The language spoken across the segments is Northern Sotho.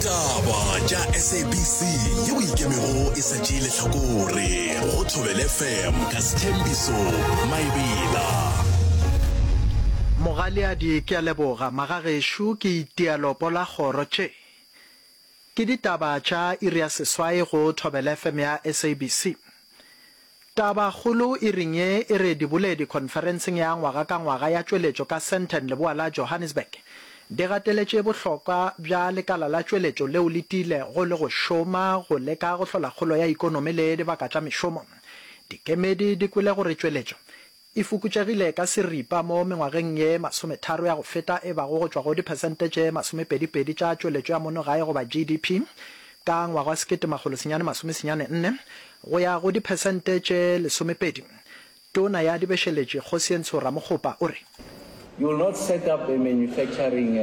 Ditaba tša SABC yeo ikemego e sa tšee lehlakore go Thobela FM ka Sthembiso Maebela. Mogaleadi ke a leboga magagešo ke itia lopo la kgoro tše ke ditaba tša iri ya seswai go Thobela FM ya SABC. Tabakgolo iring ye e re diboledi khonferenseng ya ngwaga ka ngwaga ya tšweletšo ka Sandton leboa la Johannesburg di gateletše bohlokwa bja lekala la tšweletšo leo le tiilego le go šoma go leka go hlola kgolo ya ikonomi le dibaka tša mešomo. Dikemedi di kwele gore tšweletšo e fokotšegile ka seripa mo mengwageng ye masometharo ya go feta e bago go tšwa go diphesente tše masomepedipedi tša tšweletšo ya mono gae goba GDP ka ngwaga wa 1994 go ya go diphesente tše lesomepedi. Tona ya Dibešeletši Kgosientsho Ramokgopa o re. You will not set up a manufacturing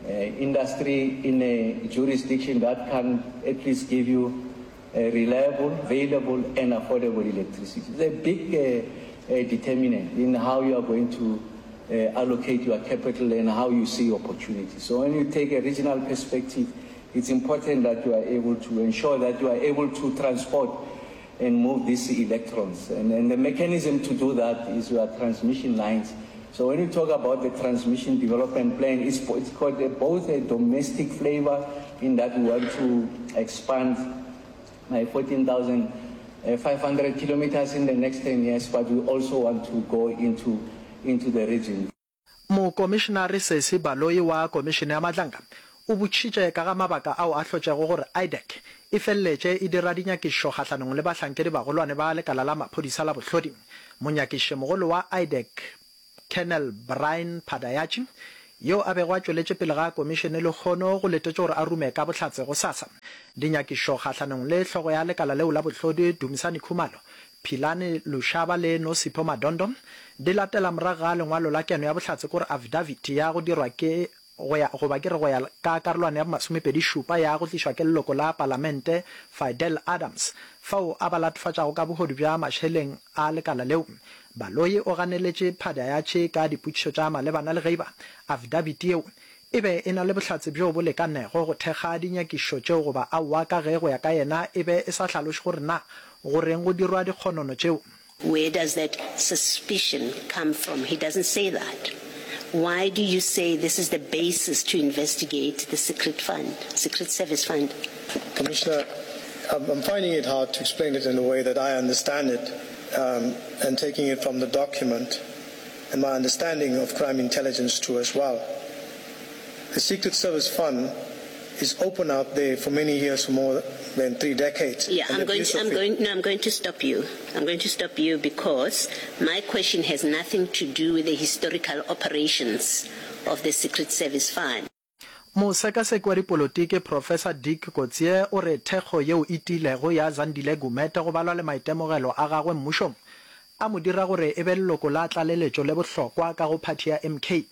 industry in a jurisdiction that can't at least give you reliable, available and affordable electricity. It's a big uh, uh, determinant in how you are going to uh, allocate your capital and how you see opportunity. So when you take a regional perspective, it's important that you are able to ensure that you are able to transport and move these electrons. And, and the mechanism to do that is your transmission lines. So when you talk about the transmission development plan, it's, it's got a, both a domestic flavor in that we want to expand by 14,500 kilometers in the next 10 years, but we also want to go into, into the region. Mokomišenare Sesi Baloyi wa Komišene ya Madlanga o botšišitše ka ga mabaka ao a hlotšego gore IDAC e feleletše e dira dinyakišišo kgahlanong le bahlankedi bagolwane ba lekala la maphodisa la bohlodi. Monyakišišimogolo wa IDAC Colonel Brian Padayachy yo a bego a tšweletše pele ga komišene lehono go letetšwe gore a rume ka bohlatse gosasa. Dinyakišišo kgahlanong le hlogo ya lekala leo la bohlodi Dumisani Khumalo Philani Lushaba le Nosipho Madondo di latela morago ga lengwalo la keno ya bohlatse kore affidavit ya go dirwa ke go ya goba ke re go ya ka karolwana ya bomasomepedi šupa ya go tlišwa ke leloko la palamente Fidel Adams fao a ba latofatšago ka bohodu bja mašeleng a lekala leo. Baloyi o ganeletše Phadayatšhe ka dipotšišo tša malebana le ge eba affidavit yeo E be e na le bohlatse bjo bo lekanego go thekga dinyakišišo tšeo goba aowa ka ge go ya ka yena e be e sa hlaloše gore na go reng go dirwa dikgonono tšeo. Where does that suspicion come from? He doesn't say that. Why do you say this is the basis to investigate the secret fund, secret service fund? Commissioner, I'm, I'm finding it hard to explain it in a way that I understand it um, and taking it from the document and my understanding of crime intelligence too as well. The Secret Service Fund is open out there for many years, for more than three decades. Yeah, I'm going, to, I'm going, no, I'm going to stop you. I'm going to stop you because my question has nothing to do with the historical operations of the Secret Service Fund. Mosekaseki wa dipolotiki Professor Dick Kotzie o re thekgo yeo e tiilego ya Zandile Gumede go balwa le maitemogelo a gagwe mmušong a mo dira gore e be leloko la tlaleletšo le bohlokwa ka go phathi ya MK.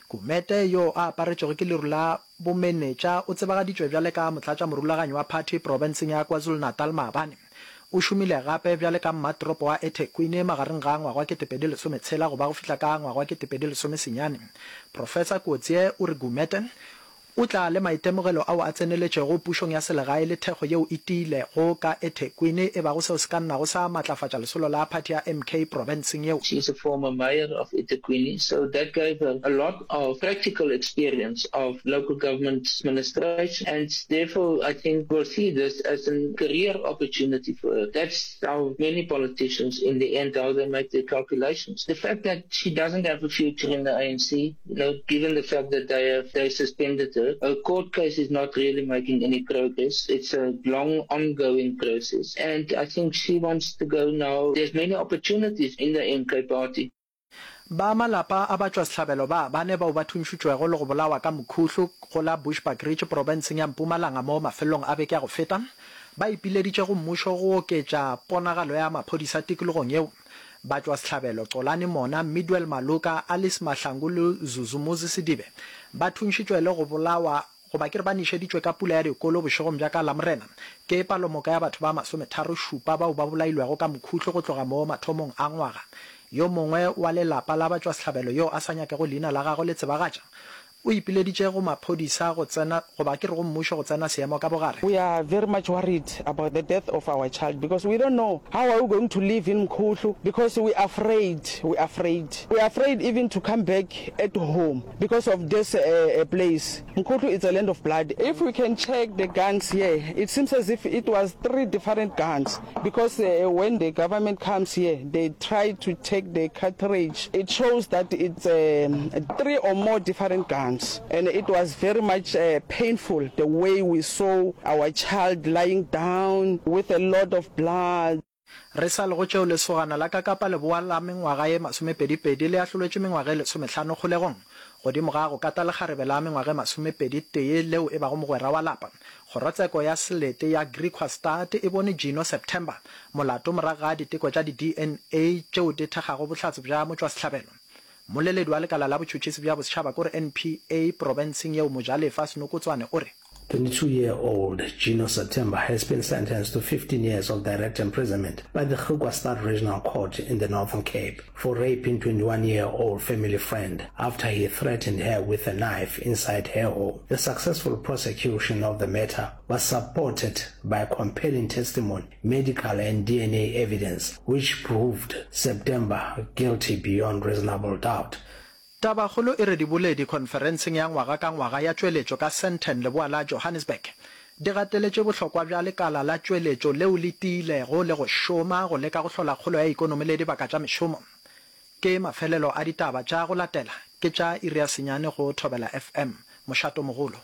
Gumede, yo a aparetšwego ke leru la bomenetša, o tsebagaditšwe bjale ka motlatšamorulaganyi wa phathi profenseng ya KwaZulu-Natal maabane. O šomile gape bjale ka mmatoropo wa eThekwini magareng ga ngwaga wa 2016 go ba go fihla ka ngwaga wa 2019. Professor Coetzee o re Gumede o tla le maitemogelo ao a tseneletšego pušong ya selegae le thekgo yeo e tiilego ka eThekwini e bago seo se ka nnago sa matlafatša lesolo la phathi ya MK profenseng yeo. She is a former mayor of eThekwini, so that gave her a lot of practical experience of local government administration and therefore I think we'll see this as a career opportunity for her. That's how many politicians in the end how they make their calculations. The fact that she doesn't have a future in the ANC, you know, given the fact that they have they suspended her, her court case is not really making any progress. It's a long ongoing process and I think she wants to go now. There's many opportunities in the MK party. Ba malapa a batšwasehlabelo ba bane bao ba thuntšhitšwego le go bolawa ka mokhuhlu go la Bushbuckridge profenseng ya Mpumalanga mo mafelelong a beke ya go feta, ba ipileditše go mmušo go oketša ponagalo ya maphodisa tikologong yeo. Batšwasehlabelo Xolani Mona, Midwell Maluka, Alice Mahlangu le Zuzumuzi Sedibe ba thuntšhitšwe le go bolawa Goba ke re ba nešeditšwe ka pula ya dikolo bošegong bja ka Lamorena. Ke palomoka ya batho ba masometharošupa bao ba bolailwego ka mokhuhlo go tloga mo mathomong a ngwaga. Yo mongwe wa lelapa la batšwasehlabelo yo a sa nyakego leina la gagwe le tsebagatša, O ipileditše go maphodisa go tsena, goba ke re go mmušo go tsena seemo ka bogare. We are very much worried about the death of our child because we don't know how are we going to live in Mkhuhlu because we afraid, we afraid, we afraid even to come back at home because of this place. Mkhuhlu it's a land of blood. If we can check the guns here, it seems as if it was 3 different guns because when the government comes here, they try to take the cartridge. It shows that it's 3 or more different guns and it was very much painful the way we saw our child lying down with a lot of blood. Re sa le go tšeo lesogana la ka Kapa Leboa la mengwaga ye masomepedipedi le ahlolwetšwe mengwaga e lesomehlano kgolegong godimo ga go kata lekgarebe la mengwaga e masomepeditee leo e bago mogwera wa lapa. Kgorotseko ya selete ya Griekwastad e bone Gino September molato morago ga diteko tša di-DNA tšeo di thekgago bohlatse bja motšwasehlabelo. Mmoleledi wa lekala la botšhotšhisi bja bosetšhaba kore NPA profenseng yeo Mojalefa Senokotswane o re. 22-year-old Gino September has been sentenced to 15 years of direct imprisonment by the Griekwastad Regional Court in the Northern Cape for raping 21-year-old family friend after he threatened her with a knife inside her home. The successful prosecution of the matter was supported by compelling testimony, medical and DNA evidence which proved September guilty beyond reasonable doubt. Tabakgolo e re diboledi khonferenseng ya ngwaga ka ngwaga ya tšweletšo ka Sandton leboa la Johannesburg di gateletše bohlokwa bja lekala la tšweletšo leo le tiilego le go šoma go leka go hlola kgolo ya ikonomi le dibaka tša mešomo. Ke mafelelo a ditaba tša go latela ke tša iri ya senyane go Thobela FM. Mošatomogolo.